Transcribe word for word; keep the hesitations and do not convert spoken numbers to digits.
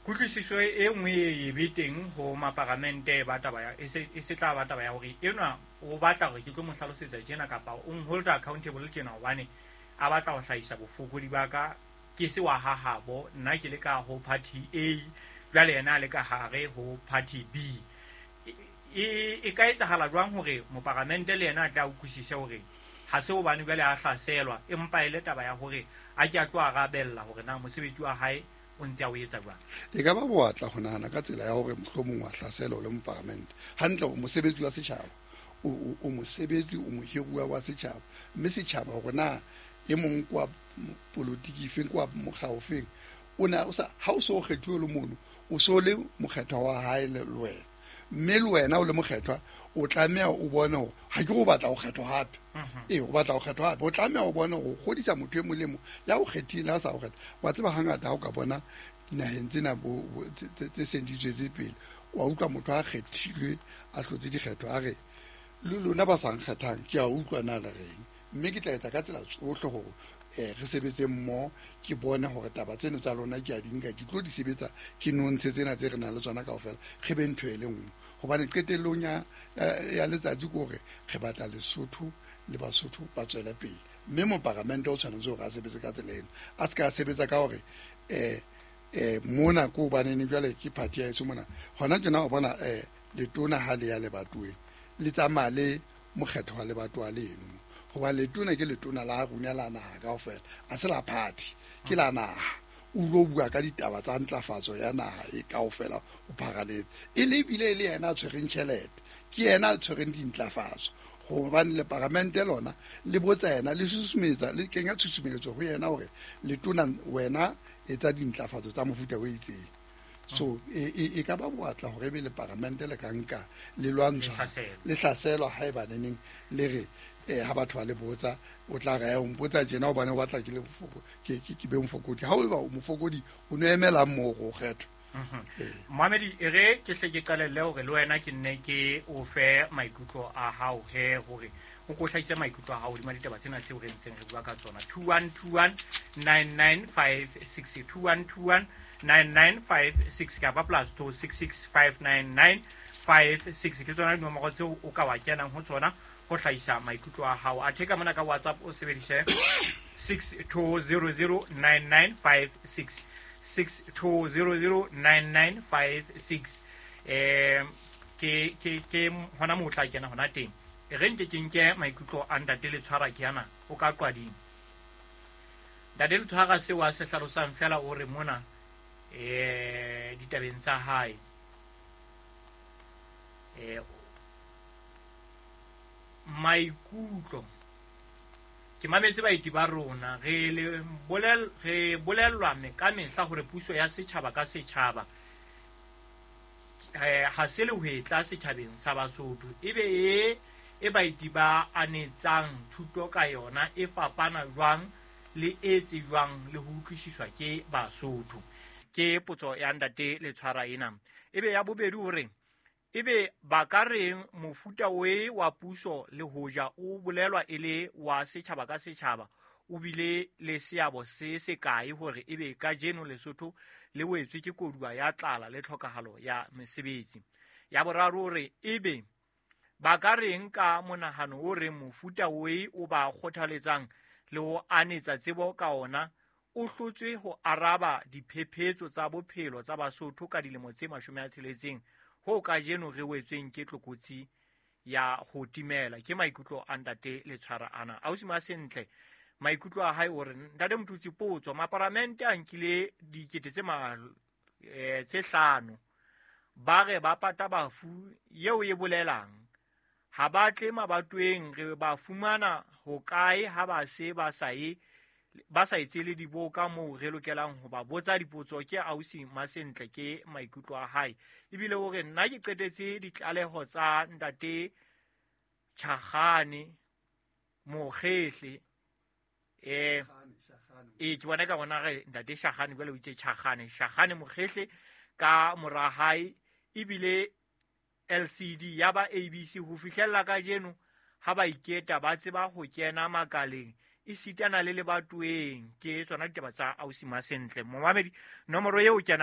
Kutlwisiso e nngwe e be teng ho maparamente ba taba ya e se e se tla ba taba ya hore enwa o batla hore ke tlo mo hlalosetsa tjena kapa o hold accountable tjena hobane a batla ho hlahisa bofokodi ba ka ke se wa hahabo nna ke le ka ho party A jwale yena a le ka hare ho party B. E e ka etsahala jwang hore moparamente le yena a tla utlwisise hore ha se hobane jwale a hlaselwa empa e le taba ya hore a ke a tlo arabella hore na mosebetsi wa hae o ntse a o etsa jwang? E ka ba boatla ho nahana ka tsela ya hore mohlomong wa hlaselwa o le moparamente. Hantle o mosebetsi wa setjhaba, o, o, o mosebetsi, o mohiruwa wa setjhaba, mme setjhaba hore na e mong kwa politiki efeng, kwa mokga ofeng, o na o sa ha o so kgethuwe le mono, o so le mokgethwa wa hae le wena, mme le wena o le mokgethwa o tlameha o bone hore ha ke go batla ho kgethwa hape. Ee, o batla ho kgethwa hape, o tlameha o bone hore o kgodisa motho e molemo ya o kgethile ha sa o kgetha. Wa tseba hangata ha o ka bona dinaheng tsena bo, bo, tse, tse, tse seng di tswetse pele, wa utlwa motho a kgethilwe a hlotse dikgetho a re le lona ba sa nkgethang ke a utlwa na le reng, mme ke tla etsa ka tsela tsohle hore eh re sebetse mmoho, ke bone hore taba tseno tsa lona ke a di nka, ke tlo di sebetsa, ke nontshe tsena tse re nang le tsona kaofela, re be ntho e le nngwe. Hobane qetellong ya, ya, ya letsatsi ke hore re batla Lesotho le Basotho ba tswele pele, mme moparamente o tshwanetse hore a sebetse ka tsela eno, a se ka sebetsa ka hore eh eh mona ko hobaneng jwale ke party ya heso mona hona tjena o bona eh letona ha le ya lebatoweng le tsamaya le mokgetho wa lebatowa leno, hobane letona ke letona la rona la naha kaofela, a se la party, ke la naha. O lo bua ka ditaba tsa ntlafatso ya naha e kaofela o pharaletse, e le ebile e le yena a tshwereng tjhelete, ke yena a tshwereng dintlafatso, hobane le paramente lona le botsa yena, le susumetsa, le kenya tshusumeletso ho yena hore letona wena etsa dintlafatso tsa mofuta o itseng. So e, e, e ka ba boatla hore ebe le paramente le ka nka le lwantshwa, le hlaselwa haeba neneng le re eh ha batho ba le botsa o tla re o mpotsa tjena hobane o batla ke le ke ke ke be mofokodi. Ha o ba o mofokodi o no emelang moo go kgethwa. Mohamedi, e re ke hle ke qalelle hore le wena ke nne ke o fe maikutlo a hao he hore o ko hlahise maikutlo a hao hodima ditaba tsena tseo re ntseng re bua ka tsona. two one two one nine nine five six, two one two one nine nine five six kapa plus two six six five nine nine five six ke tsona dinomoro tseo o ka wa kenang ho tsona ho hlahisa maikutlo a hao. Athe ka mona ka WhatsApp o sebedise six two zero zero nine nine five six, six two zero zero nine nine five six. Eh ke ke ke hona moo o tla kena hona teng. E re nke ke nke maikutlo a ntate Letshwara ke ana o ka qwading. Ntate Letshwara seo a se hlalosang fela o re mona eh ditabeng tsa hae eh maikutlo ke mametse baeti ba rona re le bolel re bolellwa me ka mehla hore puso ya setjhaba ka setjhaba eh ha se le hwetla setjhabeng sa Basotho ebe e e baeti ba anetsang thuto ka yona e fapana jwang le e tsejwang le ho utlwisiswa ke Basotho. Ke potso ya ntate Letshwara ena. Ebe ya bobedi hore ebe ba ka reng mofuta o wa puso le hoja o bolelwa e le wa setjhaba ka setjhaba o bile le seabo se se kae hore ebe kajeno Lesotho le wetswe ke koduwa ya tlala le tlhokahalo ya mesebetsi. Ya boraro hore ebe ba ka reng ka monahano o reng mofuta o o ba kgothaletsang le ho anetsa tsebo ka ona o hlotswe ho araba diphephetso tsa bophelo tsa Basotho ka dilemo tse mashome a tsheletseng ho kajeno re wetsweng ke tlokotsi ya ho timela. Ke maikutlo a ntate Letshwara ana. Ausi Masentle maikutlo a hae o re ntate Motutsi potso maparamente a nkile dikete tse ma eh, tse hlano ba re ba pata bafu eo e bolelang ha ba tle mabatweng re ba fumana hokae ha ba se ba sa e ba sa etse le diboka moo re lokelang ho ba botsa dipotso. Ke ausi Masentle ke maikutlo a hae. Ebile o re nna ke qetetse ditlaleho tsa ntate Tjhagane Mokgehle eh e ke bona ka bona re ntate Tjhagane jwale o itse Tjhagane Tjhagane Mokgehle ka mora hae ebile L C D ya ba A B C ho fihlella kajeno ha ba iketa ba tseba ho kena makaleng esitana le lebatoweng. Ke tsona ditaba tsa ausi Masentle. Momamedi nomoro eo kenang